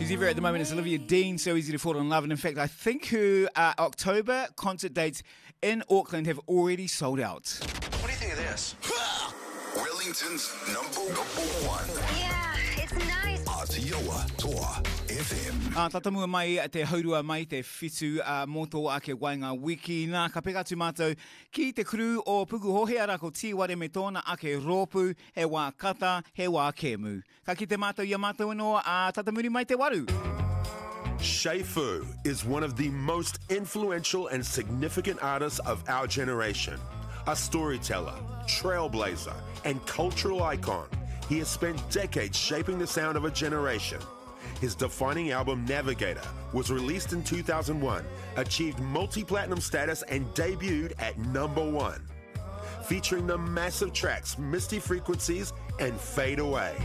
She's everywhere at the moment. It's Olivia Dean, so easy to fall in love. And in fact, I think her uh, October concert dates in Auckland have already sold out. What do you think of this? Wellington's number, number one. Yeah, it's nice. Atiawa Toa FM. Ā, tata mua mai te haurua mai te whitu uh, mō tō ake waenga wiki. Nā, ka peka atu mātou ki te crew o Pukuhohe, arā ko Tīware me tōna ake rōpū, he wā kata, he wā kēmu. Ka kite mātou i a mātou anō, ā, tata muri mai te waru. Che Fu is one of the most influential and significant artists of our generation. A storyteller, trailblazer, and cultural icon, he has spent decades shaping the sound of a generation. His defining album, Navigator, was released in 2001, achieved multi platinum status, and debuted at number one. Featuring the massive tracks Misty Frequencies and Fade Away.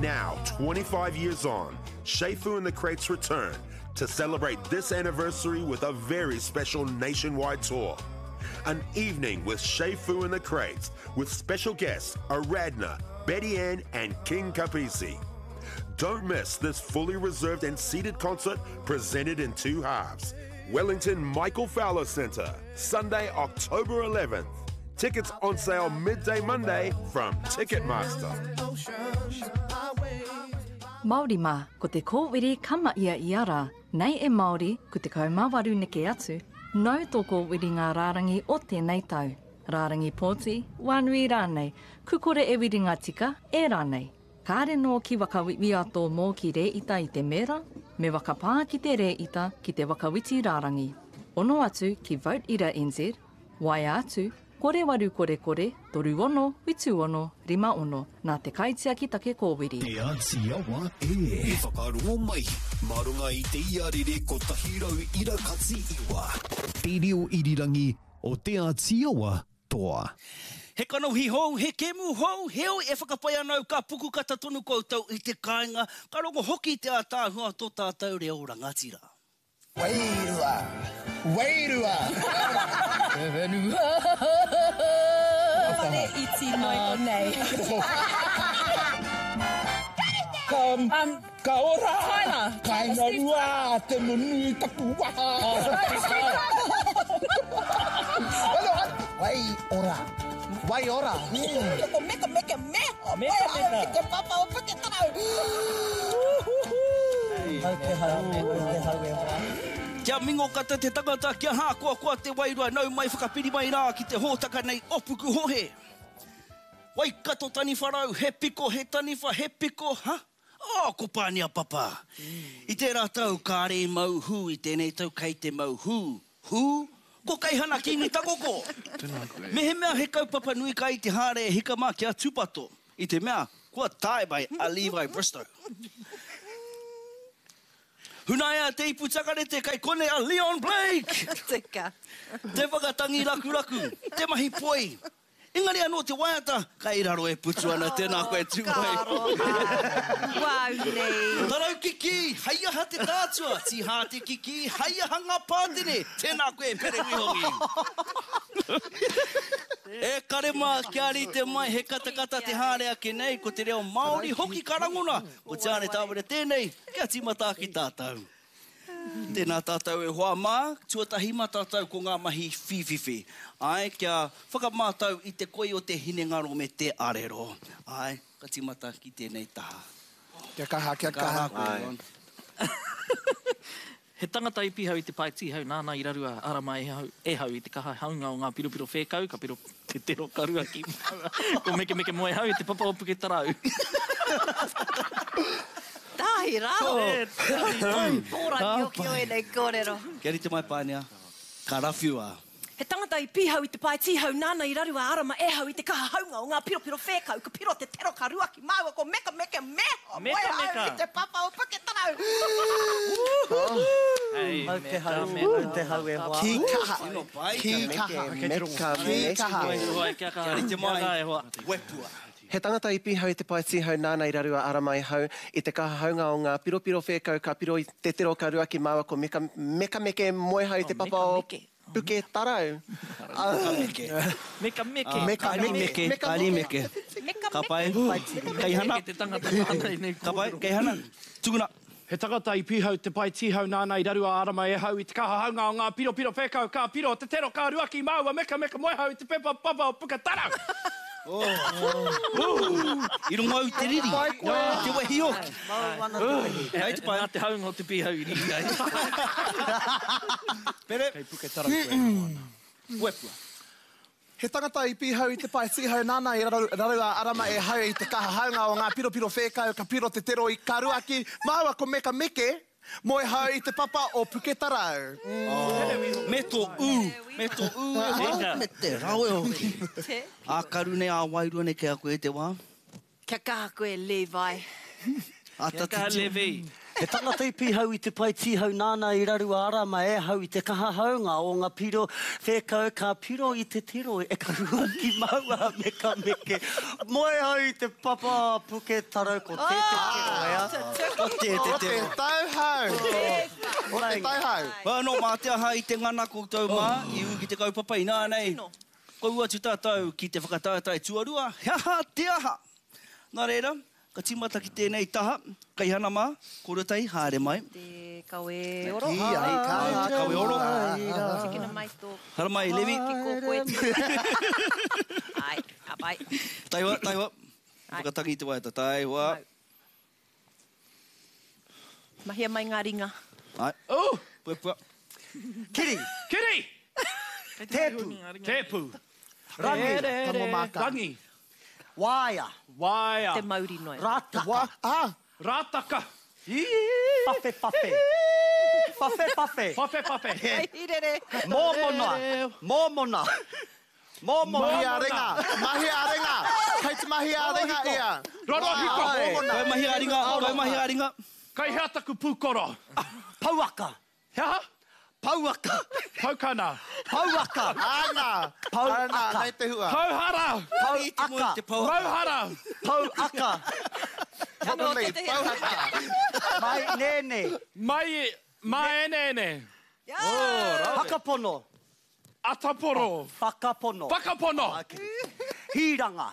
Now, 25 years on, Che Fu and the Crates return to celebrate this anniversary with a very special nationwide tour. An evening with Che Fu and the Crates with special guests Aradna, Betty Ann, and King Kapisi. Don't miss this fully reserved and seated concert presented in two halves. Wellington Michael Fowler Centre, Sunday, October 11th. Tickets on sale midday Monday from Ticketmaster. Māori mā, ko te kōwiri ka mahia ia rā, nei e Māori, ko 18 neke atu, nau tō kōwiri ngā rārangi o tēnei tau. Rārangi pōti, wānui rānei, ku kore e wiri ngā tika, e rānei. Kāre nō ki wakawiwia tō mōki rēita i te mēra, me wakapā ki te rēita ki te wakawiti rārangi. Ono atu ki Vote Ira NZ, waea atu, kore waru kore kore, 36 76 56, nā te kaitiaki take kōwiri. Te Āti Awa e. I whakarongo mai, mā runga i te iarere 100.9. Te reo irirangi o Te Āti Awa toa. He kanohi hou, he kēmu hou, heoi e whakapai ana au ka pukukata tonu koutou i te kāinga, ka rongo hoki i te ātaahua o tō tātou reo rangatira. Wairua! Wairua! Te whenua! Whare iti noi konei. Ka, um, ka ora! Tyler! Kainga rua te nunui taku waha! Wai ora! Wai ora! Ko meka meke me! Meka meka! Te papa o Puketarau! Hau te hau, hau te hau e hoa. Kia mingokata te tangata, kia hākoakoa te wairua, nau mai whakapiri mai rā ki te hōtaka nei o Pukuhohe. Waikato taniwha rau, he piko, he taniwha, he piko, ha? Oh, ko Pānia Papa! I tērā tau kāre i mau hū, i tēnei tau kei te mau hū. Hū? Ko Keihana Kīngi Takoko! Mehemea he kaupapa nui kai te haere e hika mā kia tūpato, i te mea kua tae mai a Levi Bristow. Hunaia te ipu takarete kai konei a Leon Blake! Tika. Te whakatangi rakuraku, te mahi poi, Engari anō te waiata, kai raro e putu ana, tēnā koe tū mai. Ka aroha, wau nei. Tarau kikī, hei aha te tātua, tīhā te kikī, hei aha ngā pātene, tēnā koe Mere Wihongi. E kare mā, kia rite mai he katakata te haere ake nei, ko te reo Māori hoki ka rangona, ko Tiare Tāwera tēnei, kia tīmata ake tātou. Tēnā tātou e hoa mā, tuatahi mā tātou ko ngā mahi whīwhiwhi. Āe, kia whakamātau i te koi o te hinengaro me te arero. Āe, ka tīmata ki tēnei taha. Kia kaha, kia kaha. Kia kaha koe, Ron. He tangata i pihau i te pae tīhau nāna i rarua ara mai e hau, e hau i te kaha haunga o ngā piropiro whēkau, ka piro te tero ka rua ki maua, ko Mekemeke Moehau i te papa o Puketarau. Tahi rā! Pōrangiokio ēnei kōrero. Kia rite mai Pānia, ka rawhiua. He tangata i pīhau i te pae tīhau nāna i raru a Arama e hau i te kaha haunga o ngā piropiro whēkau ka piro te tero ka ruaki māua ko Mekameke me Moehau i te papa o Puketarau. Hau te hau, hau te hau e hoa. Ki kaha, ki kaha, ki kaha. Kia rite mai, wepua. He tangata i pīhau i te pae tīhau nāna i raru a Aramaihau i te kaha haunga o ngā piropiro whēkau ka piro i te tero ka ruaki māua ko Meka Mekameke Moehau i te papa o Puketarau. Mekameke. Mekameke. Mekameke. Mekameke. Mekameke. Ka pai. Kei hana. Ka pai, kei hana. Tukuna. He tangata i pīhau te pae tīhau nāna i raru a Arama e hau i te kaha haunga o ngā piropiro whēkau ka piro te tero ka ruaki māua mekameka moehau i te pepa papa o Puketarau. I rongo au i te riri, i te wehi hoki. Hei te pai. Nā te haunga o te pīhau i riri ai. Pere. Kei Puketarau koe e noho ana. Puepua. He tangata i pīhau i te pae tīhau nāna i raru a Arama e hau i te kaha haunga o ngā piropiro whēkau ka piro te tero i ka ruaki māua ko Meka Meke moe hau i te papa o Puketarau. Me tō ū, me tō ū e hoa, me te rawe hoki. Ā karu nei, ā wairua nei kei a koe te wā. Kia kaha koe Levi. Ata titiro. He tangata i pīhau i te pae tīhau nāna i raru a Arama e hau i te kaha haunga o nga piro whēkau ka piro i te tiro e ka ruaki maua me ka meke moe hau i te papa puke tarau ko te te tero e a Ko te te O te tero. tauhau! O te tauhau! Hoi anō, mā te aha i te ngana koutou mā i ū ki te kaupapa ināianei. Kua ū atu tātou ki te whakataetae tuarua, he aha te aha? Nā reira, ka tīmata ki tēnei taha, Kaihana mā, kōrua tahi, haere mai. Te kawe oro. Te kawe oro. Tikina mai tō. Haramai, Levi. Ki kō koe. Ai, ka pai. Taihoa, taihoa. Whakatangi i te waiata, taihoa. Mahia mai ngā ringa. Ai. Oh! Puapua. Kiri! Kiri! Tēpu! Tēpu! Rangi! Tango māka. Rangi! Waea! Waea! Te mauri noa. Rātaka! Wa, ah! Rātaka! Whawhe whawhe! Whawhe whawhe! Whawhe whawhe! Hei rere! Mōmona! Mōmona! Mōmona! Mahi a ringa! Mahi a ringa! Kei te mahi a ringa ia! Rorohiko! Kau mahi a ringa, kau mahi a ringa. Kei hea taku pūkoro? Pouaka! He aha? Pouaka! Paukana! Pouaka! Ana! Pouaka! Ana, nei te hua. Pouhara! Pouaka! Mauhara! Pouaka! Probably, pouaka. Mai nēnē! Mai, māeneene! Whakapono! Ataporo! Whakapono! Whakapono! Hīranga!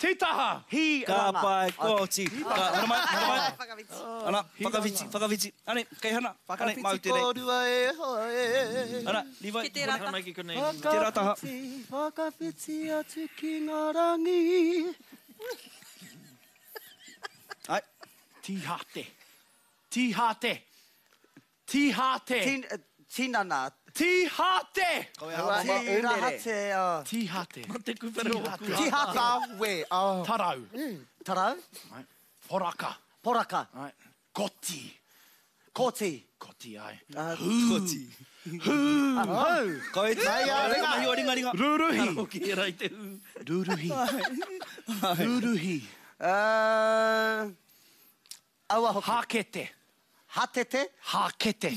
Tītaha! Hīranga! Ka pai, kua oti. Ka, haramai, haramai. Ana, whakawhiti, whakawhiti. Ane, kei hana. Ane, mau Whakawhiti tēnei. kōrua e hoa e. Ana, Levi. Ki tērā taha. Haramai ki konei. Tērā taha. Whakawhiti, whakawhiti atu ki ngā rangi. Ai. Tīhate. Tīhate. Tīhate. Tin, tinana. Tīhate! Tīrahate. Tīhate. Te kupere o ku. Tīhate. Tawe. Oh. Tarau. Tarau. Poraka. Poraka. Koti. Koti. Koti ai. Koti. Hū. Hau. Kau e te. Mai a ringa. Mahi o ringa ringa. Ruruhi. Hoki era i te hū. Ruruhi. Ruruhi. Aua hoki. Hākete. Hatete. Hākete.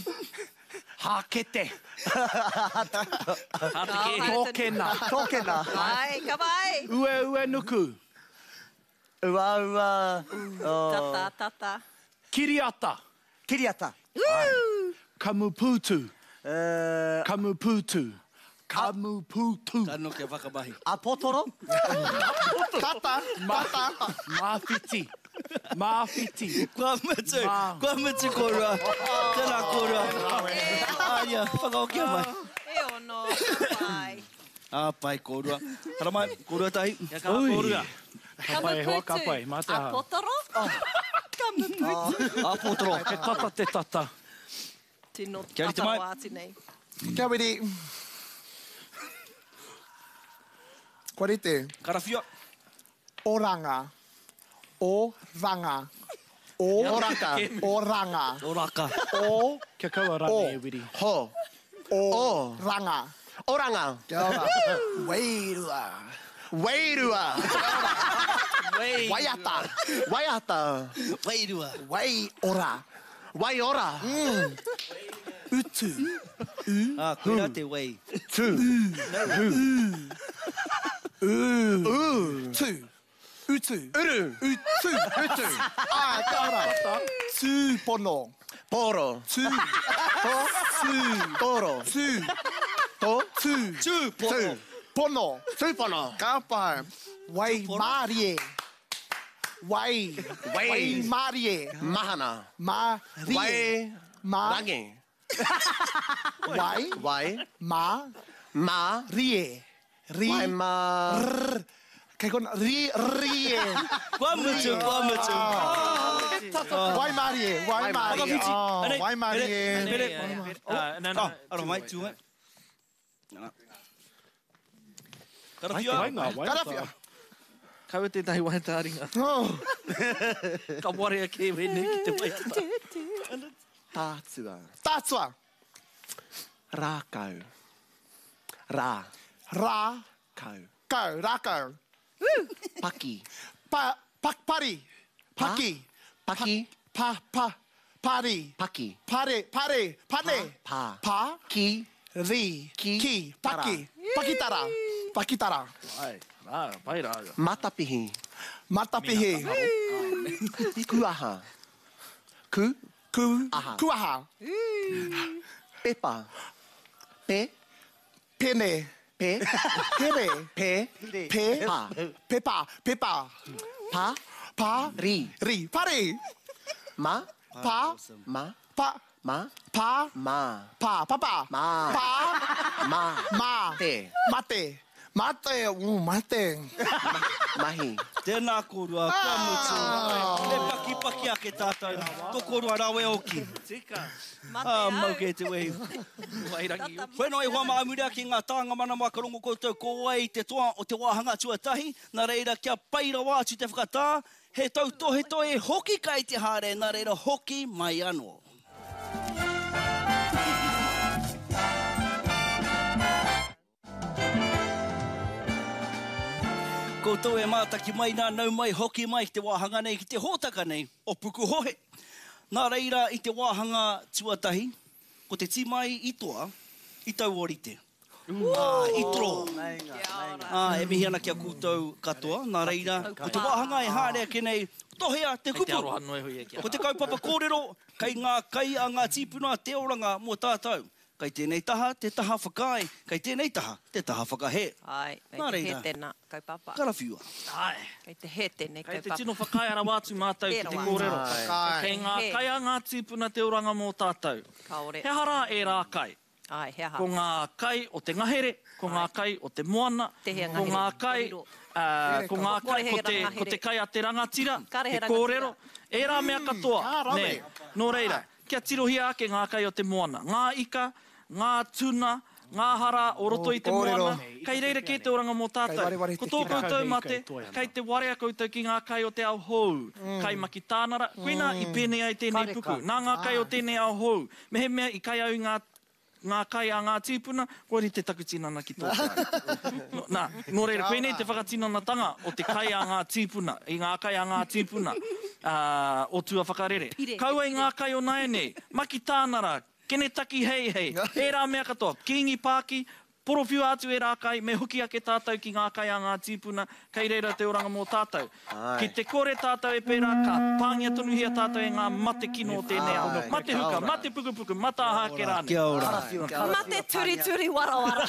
Hākete. Hāteke. Tōkena. Tōkena. Ai, ka pai. Ue ue nuku. Ua ua. Tata, tata. Kiriata. Kiriata. Kamupūtu. Kamupūtu. Kamupūtu. Ka noke whakamahi. Apotoro. Tata, tata. Māwhiti. Māwhiti. Kua mutu, kua mutu kōrua. Tēnā kōrua. Aria, whakahokia mai. E ono, ka pai. Ā, pai kōrua. Haramai, kōrua tahi. Kia kaha kōrua. Ka pai e hoa, ka pai. Mā te aha. Apotoro? Kamupūtu. Apotoro. He tata te tata. Tino Kia rite tata mai. rawa atu nei. Kia wiri. Kua rite. Karawhiua. Oranga. Oranga. O. Oraka. Oranga. Oraka. O. Kia kaua rānei e wiri. Ho. O. Ranga. Oranga. Kia ora. Wairua. Wairua. Waiata. Waiata. Wairua. Waiora. Waiora. Utu. Ā, koirā te wai. Tu. U. U. Tu. Utu. Uru. Utu. Utu. Ah, kia ora. Tūpono. Poro. Tū. To. Tū. Toro. Tū. To. Tū. Tū, pono. Pono. Tūpono. Ka pai. Waimārie. Wai. Wai. Waimarie. Mahana. Ma. Rie. Wai. Ma. Rangi. Wai. Wai. Ma. Ma. Rie. Ri. Wai ma. Rr. Kei kona. Ri. Rie. Kua mutu, kua mutu. Waimarie. Waimarie. Whakawhiti. Oh, Anei, Waimarie. Pere, Ah, no, no, Oh, aro mai, tū mai. Nana. Karawhia. Karawhia. Kaua tētahi waiata ā-ringa. Oh. Ka warea kē wēnei ki te waiata. Tātua. Tātua. Rākau. Rā. Rā. Kau. Kau. Rākau. Paki. Pa. Pak. Pari. Paki. Paki. Pa. Pa. Pari. Paki. Pare. Pare. Pane. Pa. Pa. Ki. Ri. Ki. Ki. Paki. Pakitara. Pakitara. Ai, rā, pai rā. Matapihi. Matapihi. Kuaha. Ku. Ku. Aha. Kuaha. Pepa. Pe. Pene. Pe. Pere. Pe. Pe. Pa. Pepa. Pepa. Pa. Pa. Ri. Ri. Pari. Ma. Pa. Ma. Pa. Ma. Pa. Ma. Pa. Papa. Ma. Pa. Ma. Ma. Te. Mate. Mate. Mate. Mahi. Tēnā kōrua, kua mutu. Me pakipaki ake tātou. Tō kōrua rawe oki. Tika. Ah, mau kē te wehi. Wairangi. Whenua i hoa mā muri ake ngā tānga manawa ka rongo koutou ko wai te toa o te wāhanga tuatahi, nā reira kia pai rawa atu te whakatā, he tautohetohe hoki kai te haere, nā reira hoki mai anō. Koutou e mātaki mai nā, nau mai, hoki mai ki te wāhanga nei, ki te hōtaka nei o Pukuhohe. Nā reira i te wāhanga tuatahi, ko te tīma i toa, i tauorite. Ā, i toro. Ā, e mihi ana ki a koutou katoa. Nā reira, ko te wāhanga e haere ake nei, tohea te Kei te kupu. aroha noa iho ia ki a Ko te kaupapa kōrero, kei ngā kai a ngā tīpuna te oranga mō tātou. Kei tēnei taha te taha whakaae, kei tēnei taha te taha whakahē. Āe, kei Nā te hē reira, tēnā kaupapa. Karawhiua. Āe. Kei te hē tēnei Kei te kaupapa. tino whakaae rawa atu mātou ki te kōrero. Whakaae. Kei ngā kai a ngā tīpuna te oranga mō tātou. Kāore. He aha rā ērā kai? Āe, he aha? Ko ngā kai o te ngahere, ko ngā kai o te moana, Tēhea ko ngā ngahere? kai, Korero. ā, ko ngā Kore kai, he ko te, ngahere. ko te kai a te rangatira, Kare he he kōrero, ērā mea katoa, Ka rawe. nē. Nō reira, kia tirohia ake ngā kai o te moana, ngā ika, ngā tuna, ngā hara o roto i te kōrero. moana, kei reira kē te oranga mō Kei tātou. wareware Ko te tō kira. koutou mate, kei te warea koutou ki ngā kai o te ao hou, kai makitānara, koinā i pēnei ai tēnei puku, nā ngā kai o tēnei ao hou, mehemea i kai au i ngā ngā kai a ngā tīpuna, kua rite taku tinana ki tō kai. Nō, nā, nō reira, koinei te whakatinanatanga o te kai a ngā tīpuna, i ngā kai a ngā tīpuna, ā, o tua whakarere. Pire, Kaua i ngā kai o nāianei, makitānara, kenetaki heihei, ērā mea katoa, Kīngi Pāki, porowhiua atu ērā kai, me hoki ake tātou ki ngā kai a ngā tīpuna, kei reira te oranga mō tātou. Ki te kore tātou e pērā, ka pāngia tonuhia tātou e ngā mate kino o tēnei ao. Mate huka, mate pukupuku, mata aha ake rānei. Kia ora. Mate turituri warawara.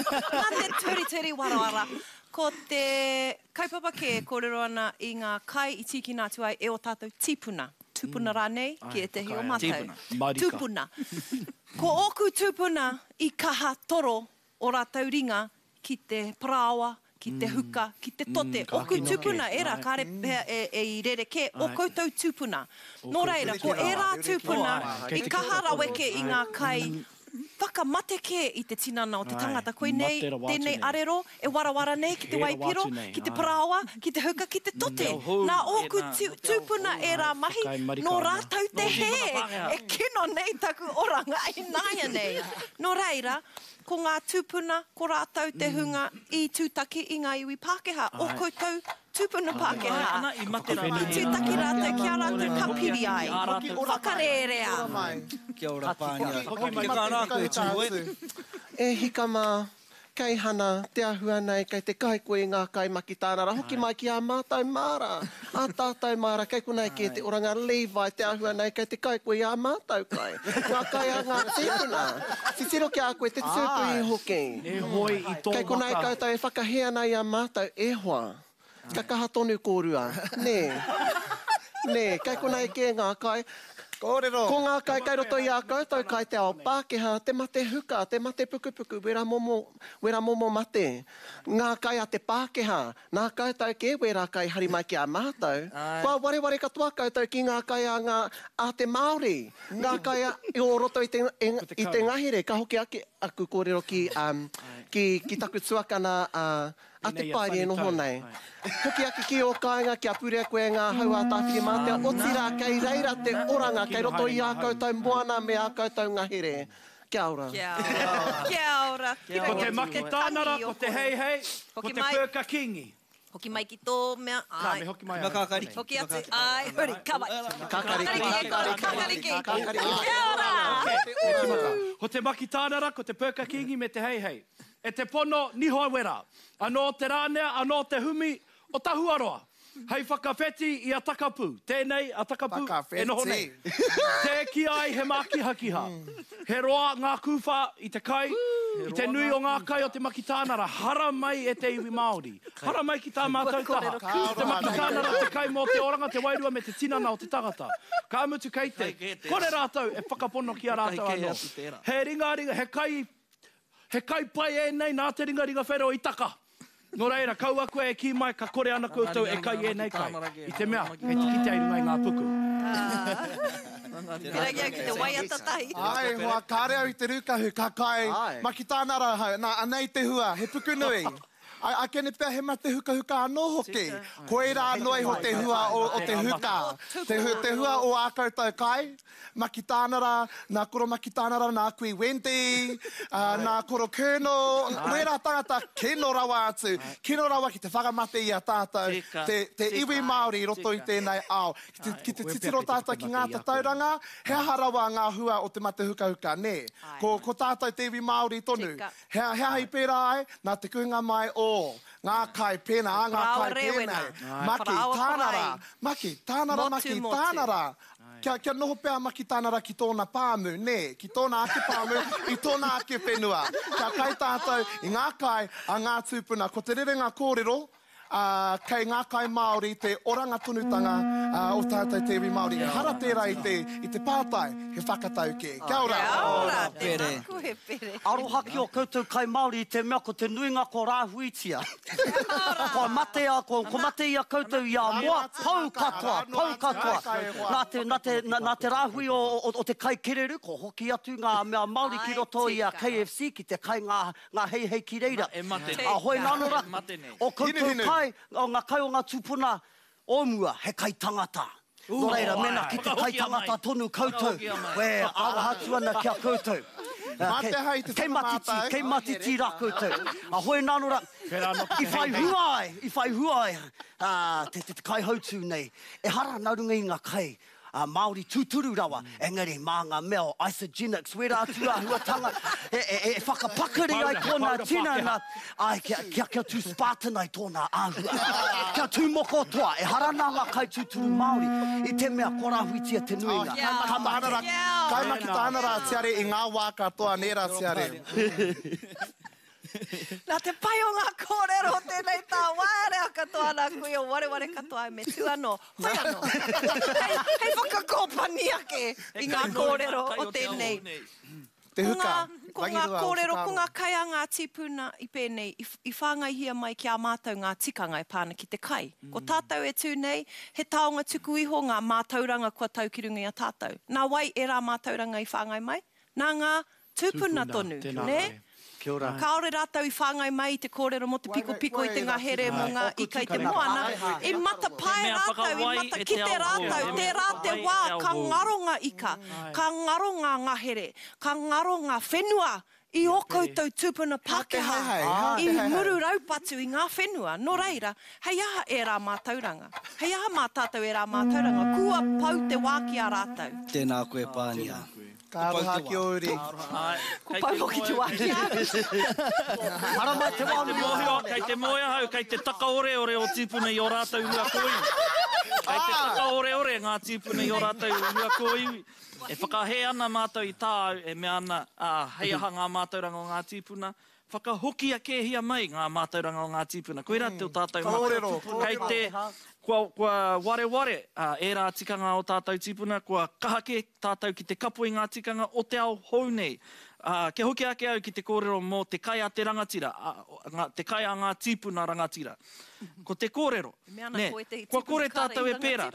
Mate turituri warawara. Ko te kaupapa kē e kōrero ana i ngā kai i tīkina atu ai e ō tātou tīpuna. Tūpuna rānei ki ētehi o mātou. Tīpuna. Tūpuna. Ko ōku tūpuna i kaha toro o rātou ringa ki te parāoa, ki te huka, ki te tote. Ōku tūpuna ērā, kāre pea e i rerekē, ō koutou tūpuna. Nō reira, ko ērā tūpuna i kaha raweke i ngā kai whakamate kē i te tinana o te tangata. Koinei tēnei arero e warawara nei ki te waipiro, ki te parāoa, ki te huka, ki te tote. Nā ōku tūpuna ērā mahi, nō rātou te hē e kino nei taku oranga ināianei. Nō reira, ko ngā tūpuna, ko rātou te hunga i tūtaki i ngā iwi Pākehā, ō koutou tūpuna Pākehā. I tūtaki rātou ki a rātou ka piri ai. Whakarērea. Kia ora Pānia. Hoki mai rā koe Tūhoe. E hika mā, kei hana, te ahua nei, kei te kai koe i ngā kai makitānara, hoki mai ki ā mātou māra, ā tātou māra, kei konei kē te oranga Levi, te ahua nei, kei te kai koe i ā mātou kai, ngā kai a ngā tīpuna. Titiro ki a koe te tūpuhi hoki. E hoe i tō Kei konei waka. koutou e whakahē ana i a mātou, e hoa. Ka kaha tonu kōrua, nē? Nē, kei konei kē ngā kai. Kōrero. Ko ngā kai kei roto i a koutou kai te ao Pākehā, te mate huka, te mate pukupuku, wera momo, wera momo mate. Ngā kai a te Pākehā, nā koutou kē wērā kai hari mai ki a mātou. Kua wareware katoa koutou ki ngā kai a ngā, a te Māori. Ngā kai a, o roto i te, i te ngahere. Ka hoki ake aku kōrero ki, ki, ki taku tuakana a, A te Paere e noho nei. Hoki ake ki ō kāinga kia purea koe e ngā hau a Tāwhirimātea, otirā kei reira te oranga kei roto i ā koutou moana me ā koutou ngahere. Kia ora. Kia ora. Kia ora. Ko te Makitānara, ko te Heihei, ko te Pēka Kīngi. Hoki mai ki tō mea, āe. Ka, me hoki mai ahau. Hoki atu, āe, huri, ka mai. Kakariki. Kakariki. Kakariki. Kia ora! Ko te Makitānara, ko te Pēka Kīngi me te Heihei. E te pono, niho wera. Anō te rānea, anō te humi o Tahuaroa. Hei whakawheti i a Takapū, tēnei a Takapū e noho nei. Tē kī ai he mākihakiha. He roa ngā kūwhā i te kai, i te nui o ngā kai o te Makitānara, hara mai e te iwi Māori. Hara mai ki tā mātou taha. Ko te Makitānara te kai mō te oranga, te wairua me te tinana o te tangata. Ka mutu kei te kore rātou e whakapono ki a rātou anō. He ringaringa, he kai He kai pai ēnei nā te ringaringa whero i taka. Nō reira, kaua koe e kī mai ka kore ana koutou e kai ēnei kai, i te mea, kei te kitea i runga i ngā puku. Pirangi au ki te waiata tahi. Āe hoa, kāre au i te rūkahu, ka kai, Makitānara ahau, nā, anei te hua, he puku nui. Ākene pea he mate hukahuka anō hoki. Koirā noa iho te hua o te huka. Te hua o ā koutou kai, Makitānara, nā Koro Makitānara, nā Kui Wendy, nā Koro Colonel, wērā tangata kino rawa atu, kino rawa ki te whakamate i a tātou, te iwi Māori i roto i tēnei ao. Ki te titiro tātou ki ngā tatauranga, he aha rawa ngā hua o te mate hukahuka, nē? Ko tātou te iwi Māori tonu. He aha i pērā ai? Nā te kuhunga mai o ngā kai pēnā, ā ngā kai pēnei. Maki, tāna rā, maki, tāna rā, maki, tāna rā. Kia, kia noho pea a Maki tāna rā ki tōna pāmu, nē, ki tōna ake pāmu, i tōna ake whenua. Kia kai tātou i ngā kai a ngā tūpuna. Ko te rerenga kōrero, ā, kei ngā kai Māori te oranga tonutanga o tātou te iwi Māori. Ehara tērā i te, i te pātai, he whakatau kē. Kia ora! Kia ora, tēnā koe Pere. Aroha ki o koutou kai Māori i te mea ko te nuinga ko rāhuitia. Kua mate a, ko, ko mate i a koutou i a moa, pau katoa, pau katoa. Nā te, nā te, nā te rāhui o, o, o te kai kereru, ko hoki atu ngā mea Māori ki roto i a KFC ki te kai ngā, Nga heihei ki reira. E mate nei. A hoi nano ra, E mate nei. o koutou kai, o nga kai o nga tupuna o mua, he kai tangata. No reira, mena ki te kai tangata tonu koutou, e aroha atu ana ki a koutou. Ma te aha i te Kei matiti, whakamātau. kei matiti ra koutou. A hoi nano ra, i whai hua ai, i whai hua ai, a, te, te, te kaihautū nei. Ehara na runga i nga kai ā, Māori tūturu rawa, engari mā ngā mea o Isagenix, wērā atu āhuatanga e, e, e whakapakari ai tōna tinana, āe, kia, kia, kia tū Spartan ai tōna āhua, kia tū moko toa, ehara nā ngā kai tūturu Māori, i te mea kua rāhuitia te nuinga, ka mate. Kai Makitāna rā Tiare i ngā wā katoa, nē rā Tiare? Nā te pai o ngā kōrero o tēnei tā waerea katoa nā kui o wareware katoa me tū anō, hoi anō, hei, hei whakakōpani ake i ngā kōrero o tēnei. Te Ko huka, ngā, ko ngā rangirua o kōrero, ko whakaaro. ngā kai a ngā tīpuna i pēnei, i, i whāngaihia mai ki a mātou ngā tikanga e pā ana ki te kai. Ko tātou e tū nei, he taonga tuku iho ngā mātauranga kua tau ki runga i a tātou. Nā wai ērā mātauranga i whāngai mai? Nā ngā Tūpuna tonu, nē? Kāore rātou i whāngai mai i te kōrero mō te pikopiko i te ngahere, mō ngā ika i te moana. I matapae rātou, i matakite rātou, tērā te wā ka ngaro ngā ika, ka ngaro ngā ngahere, ka ngaro ngā whenua i ō koutou tūpuna Pākehā i muru raupatu i ngā whenua. Nō reira, hei aha ērā mātauranga? Hei aha mā tātou ērā mātauranga? Kua pau te wā ki a rātou. Tēnā koe Pānia. Ka aroha ki ō uri. Ko pau hoki te wā ki a au. Haramai te wā nui o Tāne. Kei te moe ahau, kei te takaoreore ō tīpuna i ō rātou hua kōiwi. Kei te takaoreore ngā tīpuna i ō rātou hua kōiwi. E whakahē ana mātou i tāu e mea ana, ā, hei aha ngā mātauranga o ngā tīpuna? Whakahokia kēhia mai ngā mātauranga o ngā tīpuna. Koirā te o tātou mate. Kōrero, Kei te, kua, kua wareware ērā tikanga o tātou tīpuna, kua kaha kē tātou ki te kapo i ngā tikanga o te ao hou nei. Ā, kia hoki ake au ki te kōrero mō te kai a te rangatira, ā, ngā, te kai a ngā tīpuna rangatira. Ko te kōrero, nē, kua kore tātou e pērā.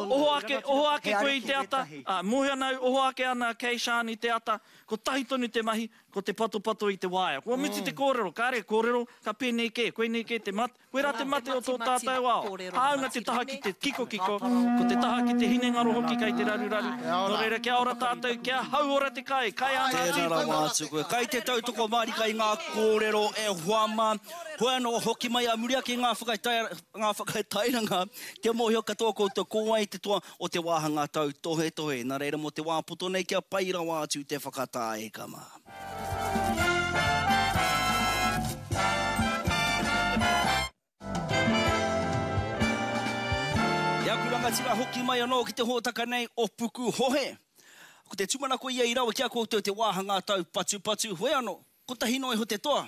Oho ake, oho ake koe i te ata, ā, mōhio ana au, oho ake ana a Kay-Shan i te ata, kotahi tonu te mahi, ko te patopato i te waea. Kua mutu te kōrero, kāre kōrero, ka pēnei kē, koinei kē te mate, koirā te mate o tō tātou ao. Hāunga te taha ki te kikokiko, ko te taha ki te hinengaro hoki kei te raruraru. Nō reira, kia ora tātou, kia hauora te kai, kai a ngā Tēnā tīpuna. rawa atu koe. Kai te tautoko mārika i ngā kōrero e hoa mā. Hoi anō, hoki mai a muri ake i ngā whakatairanga kia mōhio katoa koutou ko wai te toa o te wāhanga tautohetohe. Nā reira mō te wā poto nei kia pai rawa atu te whakatā e ka mā. E aku rangatira hoki mai anō ki te hōtaka nei o Pukuhohe. Ko te tūmanako ia i rawe ki a koutou te wāhanga taupatupatu, hoi anō, Kotahi noa iho te toa.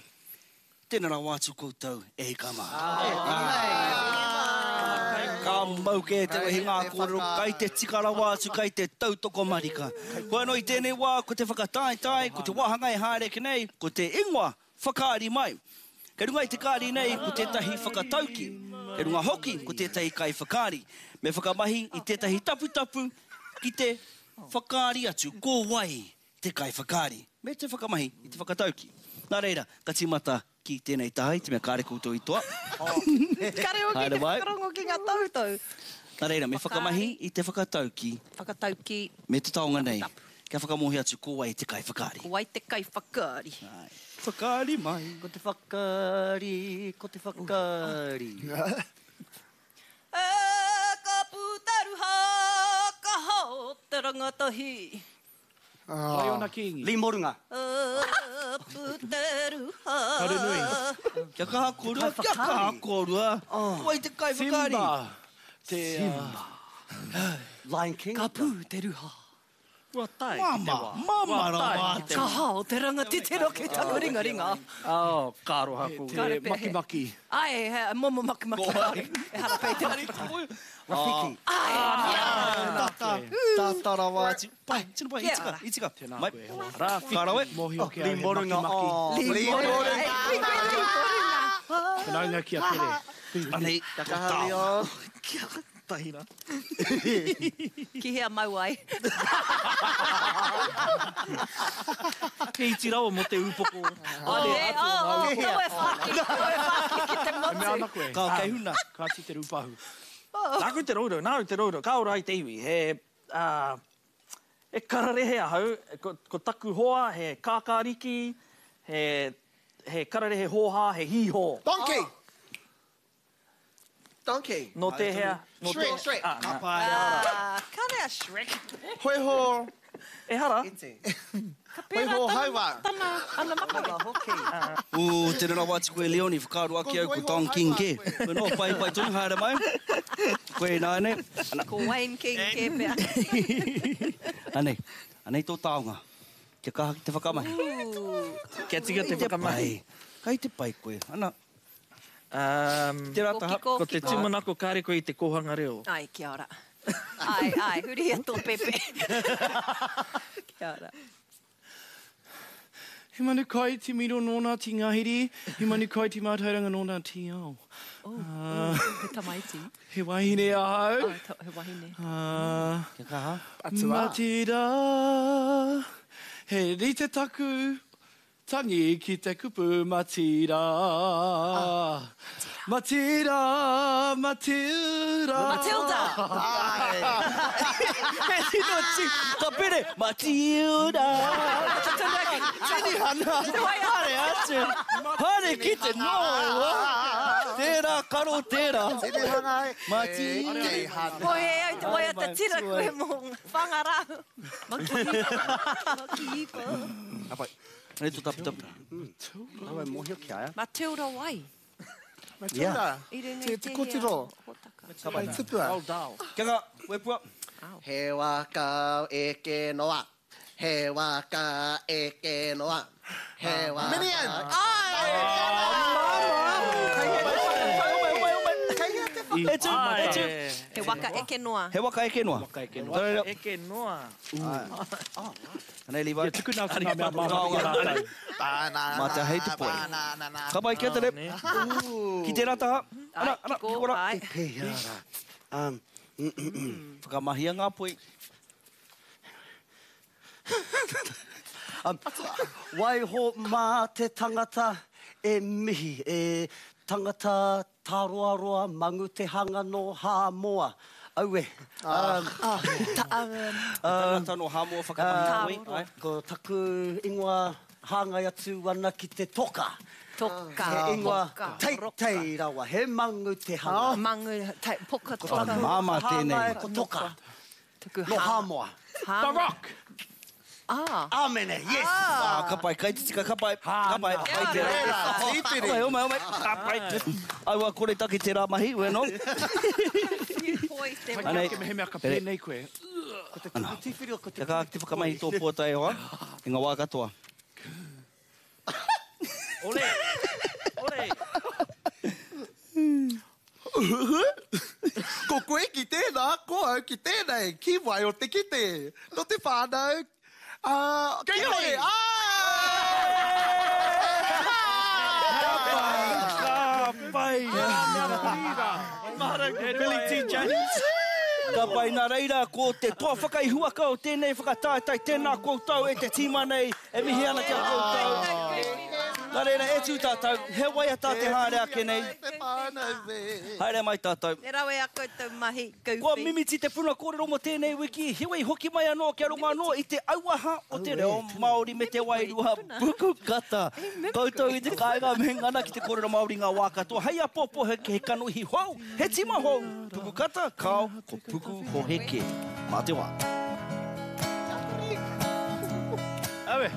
Tena rawa atu koutou e hika ma. Ka mau kē te wehi ngā kōrero, kai te tika rawa atu, kai te tautoko marika. Hoi anō i tēnei wā, ko te whakataetae, ko te wāhanga e haere ake nei, ko te ingoa whakaari mai. Kei runga i te kāri nei ko tētahi whakatauki, kei runga hoki ko tētahi kaiwhakaari. Me whakamahi i tētahi taputapu ki te whakaari atu ko wai te kaiwhakaari, me te whakamahi i te whakatauki. Nā reira, ka tīmata ki tēnei taha i te mea kāre koutou i toa. Kare hoki Haere te mai. whakarongo ki ngā tohutohu. Nā reira, me whakamahi i te whakatauki. Whakatauki. Me te taonga nei, kia whakamōhio atu ko wai te kaiwhakaari. Ko wai te kaiwhakaari. Whakaari mai. Ko te whakaari, ko te whakaari. E ka pūtaruha, ka hao te rangatahi. Raiona Kingi. Lee Morunga. Taranui. Kia kaha korua, kia kaha korua. Ko wai te kaiwhakaari? Simba. Te, Simba. Lion King. Ka pū te ruha. Kua tae ki te wā. Mama rawa atu. Ka hao te ranga titiro ki taku ringaringa. Oh, ka aroha ko. Te makimaki. Ae, he momo makimaki. Ehara pei te makimaki. Rafiki. Ae, Tata, tata rawa atu. Pai, tino pai, i tika, i tika. Tēnā Mai. koe, e hoa. Rafiki. Ka rawe. Mōhio ki a Lee he Morunga, makimaki. oh. Lee Morunga. Whanaunga ki a Pere. Anei, Kia kaha, Leon. Kia tahira. Ki hea mau ai? He iti rawa mō te upoko. Oh, nē, oh, oh, kaua e whāki, kaua e whāki ki te E mea motu. ana koe. Ka kei huna. Kāti te rūpahu. Nāku te rourou, nāu te rourou, ka ora ai te iwi. He, ā, he kararehe ahau, ko, ko taku hoa he kākāriki, he, he kararehe hōhā, he hīhō. Donkey! Donkey. Nō tēhea? Nō Shrek, tēhea? Shrek. Ā, nā. Ah, kare a Shrek. Hoiho. Ehara. Ka pērā Hoiho tana, hauā. tana, ana makawe. Ū, tēnā rawa atu koe Leon, i whakaaro ake au ko Don King kē. Koe noa, pai, pai tonu, haere mai. Koe ināianei. Ana. Ko Wayne King kē pea. Anei, anei tō taonga. Kia kaha ki te whakamahi. Kia tika te whakamahi. Kai te pai koe. Ana. Um, Tērā taha. Kiko, ko te kiko. tūmanako kāre koe i te kōhanga reo. Ai, kia ora. Ai, ai, hurihia tō pepe. Kia ora. He manu kai te miro nōna te ngahiri, he manu kai te mātauranga nōna te ao. Oh, oh, he tamaiti. He wahine ahau. Oh, he wahine. Kia kaha. Matilda, he rite taku Tangi ki te kupu Matira. Matira, Matilda. Matilda! He tino ti, ka pere, Matilda. Tinihana, haere atu, haere ki te noa. Tērā karo tērā. Tinihana e. Matilda. Koe e au te waiata tira koe mō Whangara. Makihipa. Ka pai. Rei tō taputapu. Nau e mōhio ki a ia. Matilda wai? Matilda. I runga Te, i te tēhea kotiro. hōtaka? Hei tipua. Old Dal. Kia ngā, wepua. He waka eke noa. He waka eke noa. He waka. Minion! E tū, e tū. He waka eke noa. He waka eke noa. Waka eke noa. noa. Eke noa. Anei, Levi. Ia, tukuna atu ngā mea māmā ki a rātou. Mā te hei te poi. Ka pai, kia tere. Ki tērā taha. Ana, ana, ki kora. Te pēhea rā. Whakamahia ngā poi. Waiho mā te tangata e mihi, e tangata tāroaroa mangu te hanga nō Hāmoa. Aue. Tangata nō Hāmoa whakamahi poi. Ko taku ingoa hāngai atu ana ki te toka. Toka. He ingoa teitei rawa, he mangu te hanga. Mangu, poka Ko toka. taku Māmā tēnei. Hāngai ko toka. Nō Hāmoa. The Rock! Ah. Āmene, yes! Ah, ka pai, kai te tika, ka pai, ka pai, pai tērā. Tīpiri. Homai, homai, homai, ka pai. Aua, kore take tērā mahi, bueno. Poi te Anei. Ake mehemea ka pēnei koe. Ko te tuku tīwhiri o ko te Kia kaha ki te whakamahi tō pōtae e hoa, i ngā wā katoa. Ole! Ole! Ko koe ki tēnā, ko au ki tēnei, ki wai o te kite. Nō te whānau, ā, ki hore, ā! Ka pai! Billy T. James. Ka pai, nā reira, ko te toa whakaihuwaka o tēnei whakataetae, tēnā koutou e te tīma nei, e mihi ana ki a koutou. Nā reira, e tū tātou, he waiata te haere ake nei. Haere mai tātou. He rawe a koutou mahi, Goofy. Kua mimiti te puna kōrero mō tēnei wiki, heoi hoki mai anō kia rongo anō i te auaha o te reo Māori me te wairua puku kata. Koutou i te kāinga me ngana ki te kōrero Māori ngā wā katoa. Hei āpōpō he kanohi hou, he tima hou, puku kata, kāo, ko puku hohe kē. Mā te wā. Aue.